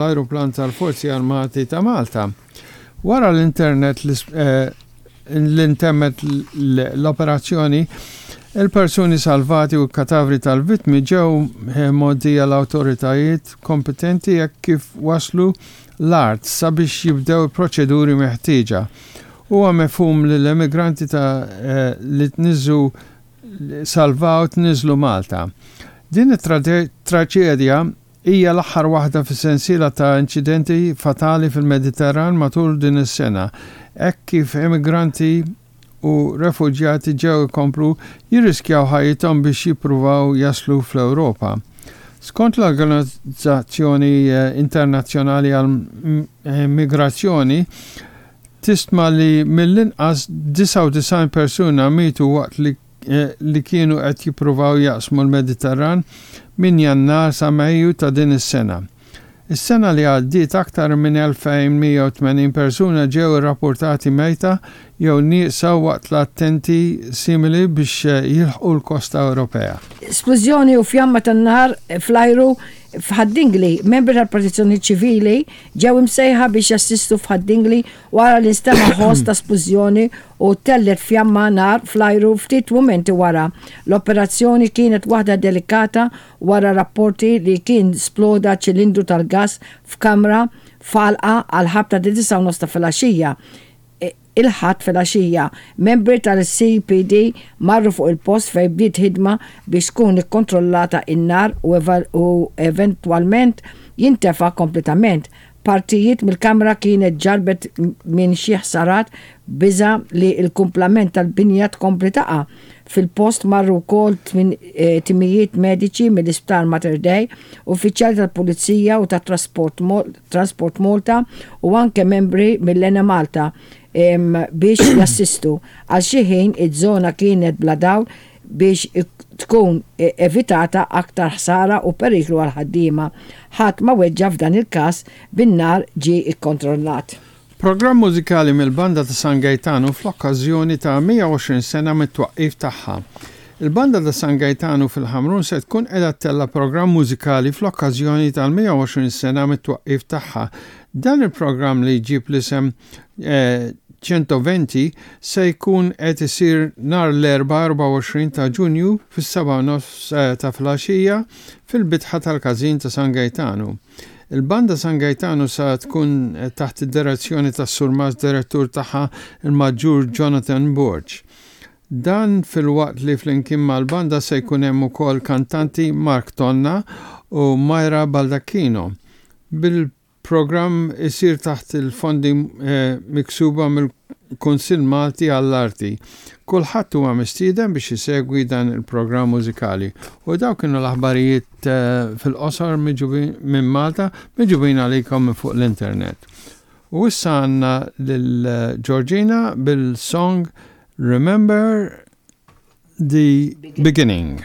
Ajruplan tal-Forzi Armati ta' Malta. Wara l-internet li ntemmet l-operazzjoni, il-persuni salvati u l-katavri tal-vittmi ġew mgħoddija l-awtoritajiet kompetenti hekk kif waslu l-art sabiex jibdew il-proċeduri meħtieġa. Huwa mifhum li l-emigranti ta' li tniżżu salvaw tniżżlu Malta. Din it-traċedja Hija l-aħħar waħda fis-sensiela ta' inċidenti fatali fil-Mediterran matul din is-sena, hekk kif immigranti u refuġjati ġew ikomplu jirriskjaw ħajjithom biex jippruvaw jaslu fl-Ewropa. Skont l-Organizzazzjoni Internazzjonali għall-Migrazzjoni, tistma li mill-inqas 99 persuna mietu waqt li li kienu qed jippruvaw jaqsmu l-Mediterran minn Jannar sa Mejju ta' din is-sena. Is-sena li għaddiet aktar minn 2,180 persuna ġew irrappurtati mejta jew nieqsa waqt l-attenti simili biex jilħqu l-kosta Ewropea. Splużjoni u fjamma tan-nar fl-ajru f'Ħad-Dingli, Membri tal-Protezzjoni Ċivili ġew imsejħa biex jassistu f'Ħad-Dingli wara li nstema' ħoss ta' splużjoni u ttellgħet fjamma nar fl-ajru ftit mumenti wara. L-operazzjoni kienet waħda delikata wara rapporti li kien sploda ċilindru tal-gass f'kamra f'għalqa għall-ħabta ta' disgħa u nofs ta' filgħaxija. Il-Ħadd filgħaxija, membri tal-CPD marru fuq il-post fejn bdiet ħidma biex tkun ikkontrollata n-nar u eventwalment jintefa' kompletament. Partijiet mill-kamra kienet ġarrbet minn xi ħsarat b'biża' li l-kumplament tal-binja tkompli taqa'. Fil-post marru wkoll timijiet mediċi mill-Isptar Mater Dei, uffiċjali tal-Pulizija u ta' Transport Malta u anke membri mill-Enemalta biex jassistu. Għal xi ħin iż-żona kienet bla dawl biex tkun evitata aktar ħsara u periklu għall-ħaddiema. Ħadd ma weġġa' f'dan il-każ bin-nar ġie kkontrollat. Programm mużikali mill-Banda ta' San Gejtanu fl-okkażjoni ta' 120 sena mit-twaqqif tagħha. Il-Banda ta' San Gejtanu fil-Ħamrun se tkun qiegħda ttella' programm mużikali fl-okkażjoni tal-120 sena mit-twaqqif tagħha. Dan il-programm li jġib l-isem Centoventi se jkun qed isir nhar l-Erbgħa 24 ta' Ġunju fis-sebgħa u nofs ta' filgħaxija fil-bitħa tal-Każin ta' San Gejtanu. Il-Banda San Gejtanu sa tkun taħt id-direzzjoni tas-Surmast Direttur tagħha il-Maġġur Jonathan Borg. Dan filwaqt li flimkien mal-banda se jkun hemm ukoll kantanti Mark Tonna u Myra Baldacchino. Bil Programm isir taħt il-fondi miksuba mill-Kunsill Malti għall-Arti. Kulħadd huwa mistieden biex isegwi dan il-programm mużikali. U dawk kienu l-aħbarijiet fil-qosor minn Malta miġubin għalikom minn fuq l-internet. U issa għandna lil Georgina bil-song Remember the Beginning.